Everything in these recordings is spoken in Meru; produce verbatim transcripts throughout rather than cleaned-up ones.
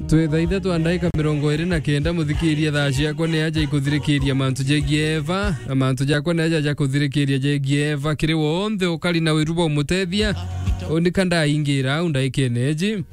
Twi thaa ithatu na ndaika mirongo iri na kenda, muthikiria, thaa ciakwa ni aja ikuthirikiria mantu jegie Eva, na mantu jakwa ni aja ja kuthirikiria jegie Eva. Kiri wonthe ukari na wiru bwa umutethia, unika ndaingira au ndaikene iji.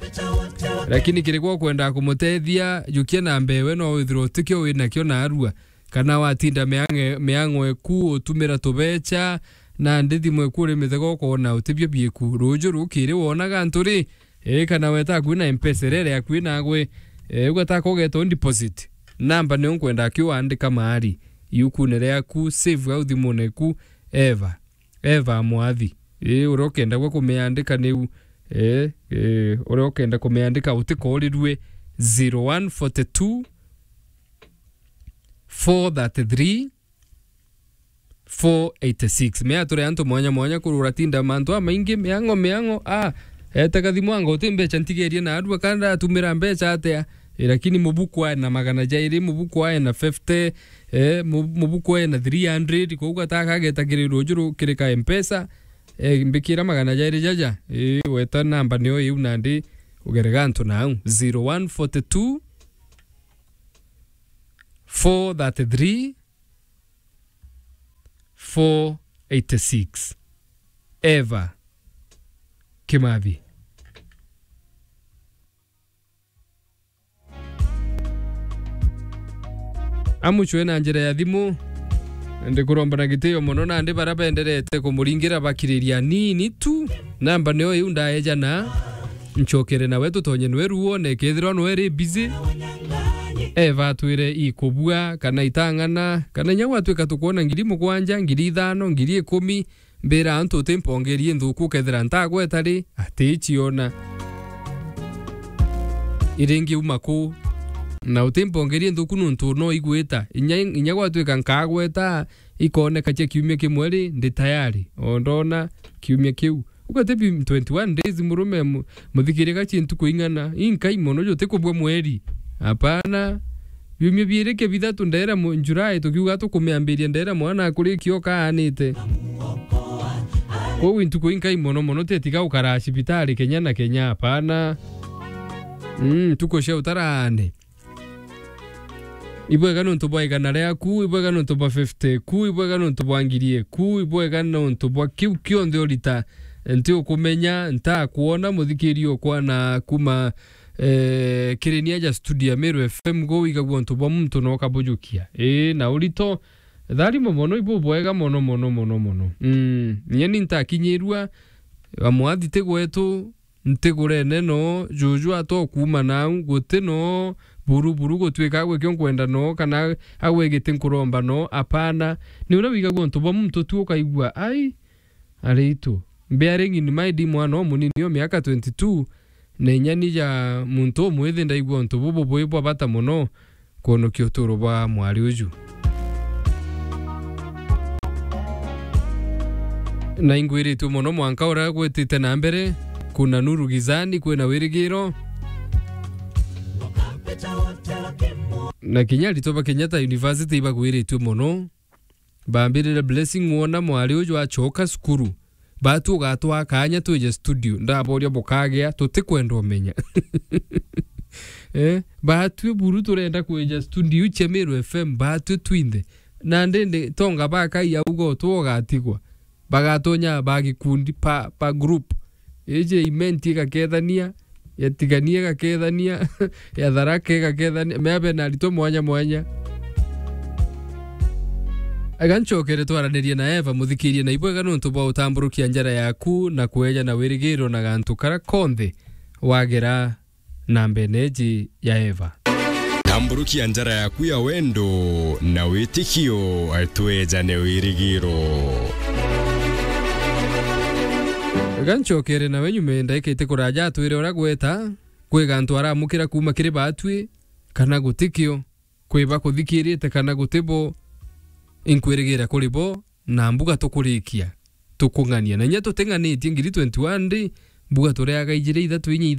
Lakini kiri gwa ukwenda kumutethia, jukia na mbewe no withirwa utikio winakio narua. Kana watinda miang'e-, miang'o eku utumira tubecha, na ndi thimu eku uri mithego ukoona utibio bieku. Ruju rukiri wonaga antu ri, ii, kana weta akui na Mpesa irere akui nagwe, ii, ugata kogeta u deposit. Namba niyo nkwenda akiu wandika maari, iukune riaku, save au thimune eku, Eva. Eva mwathi. Ii, uria ukenda gwe kumiandika niu, ii, ii, uria ukenda kumiandika utikorirue zero one forty two, four thirty three, four eighty six. Mea turi antu mwanya mwanya kurura tinda mantu amaingi, miang'o, miang'o, a, ete kathimu anga uti mbecha ntigerie narua, kana ndatumira mbecha atia? E, lakini mubuku ae na magana jairi, mubuku ae na fifty, e, mu-, mubuku ae na three hundred, kou gata kageta kiri ruju ru-, kiri ka Mpesa, e, mbikira magana jairi jaja, e, weta namba niyo iu nandi ugere gantu nau, zero one forty two, four thirty three, four eighty six. Eva Kimathi. Amucwe na njira ya thimu. Ndikuromba na gitio mono, nandi bara benderete kumuringira bakiriria nini tu. Namba niyo iu ndaejana. Ncokere nawe tutonye nwe ruone, kethirwa nwe ri busy. Eva atwire ikubua, kana itang'ana, kana inya gwatwika tukwona ngiri mugwanja, ngiri ithano, ngiri ikumi, mbira antu uti mpongerie nthuku, ukethira ntagweta ri, ati ciona. Iringi uma ku, na uti mpongerie nthuku nuntu no igwita. Inya, inya gwatwika nkagweta, ikoneka cia kiumia kimwe ri, ndi tayari. O ndona kiumia kiu. Ugatebi twenty-one days, murume mu-, muthikirie gachi ntuku ing'ana. Inkai mono, jutikubua mweri. Hapana. Biumia biiri kia bithatu ndaira mu-, July, tukiuga tukumiambiria ndaira mwana akurikia okaanite. Kwou ntuku inkai mono mono, tetiga ukara cibitari kenya na kenya, hapana. Mm, ntuku cia utarane. Ibwega nontu bwa igana riaku, ibwega nontu bwa fifty ku, ibwega nontu bwa ngiri eku, ibwega nontu bwa kiu kionthe urita. Nti ukumenya, ntakwona, muthikiri okwa na kuma, eh, kiri ni aja studio ya Meru F M, go wigagua untu bwa muntu na ukabujukia. Ii, na urito, tharimo mono, ibu bwega mono, mono, mono, mono. Mm, nyeni ntakinyirua, amwathi ti gwetu, ntigurene no, juju atokuuma nau, guti no, buru, buru gutwika agwe kio nkwenda no, kana agwe giti nkuromba no, apana. Ni uria wigagua untu bwa muntu tu ukaigua, ai, aritu. Bearing in mind, mwana o munini o miaka twenty-two, na inya ni ja muntu umwithi ndaigua untu bubu bwi bwa bata mono, kwonokia uturo bwa mwari uju. Na ingwiritue mono mwanka uria gwitite na mbere, kuna nuru gizani, kwina wirigiro. Na kinya aritwa ba Kenyatta University ibagwiritue mono. Bambirire blessing wona mwari uju acoka cukuru. Batu ugatwaa kaanya twije studio. Ndaboria bukagea, tutikwenda umenya. Eh, batwi buru turenda kwija studio cia Meru F M, batwi twinthe. Na ndindi tonga bakai auga utwo ugatigwa. Bagatonya ba gikundi pa, pa group. Iji imenti igakethania, ya Tigania igakethania, ya Tharaka igakethania, mea bena aritwa mwanya mwanya. Ega ncokere twaranirie na Eva, muthikirie na ibwega nontu bwa utamburukia njara yaku na kweja na wirigiro na gantu kara konthe wagera na mbene iji ya Eva. Tamburukia njara yaku ya wendo na witikio, twejane wirigiro. Ega ncokere nawe nyuma ndaika iti kuraja atwire uria gweta, kwi gantu aramukira kuma kiri batwi, kana gutikio, kwi bakuthikirite kana gutibo, inkwirigira kuri bo, na mbuga tukurikia, tukung'ania. Na inya tuting'anitie ngiri twenty-one ndi, mbuga tureaga ijiri ithatu inya ithano.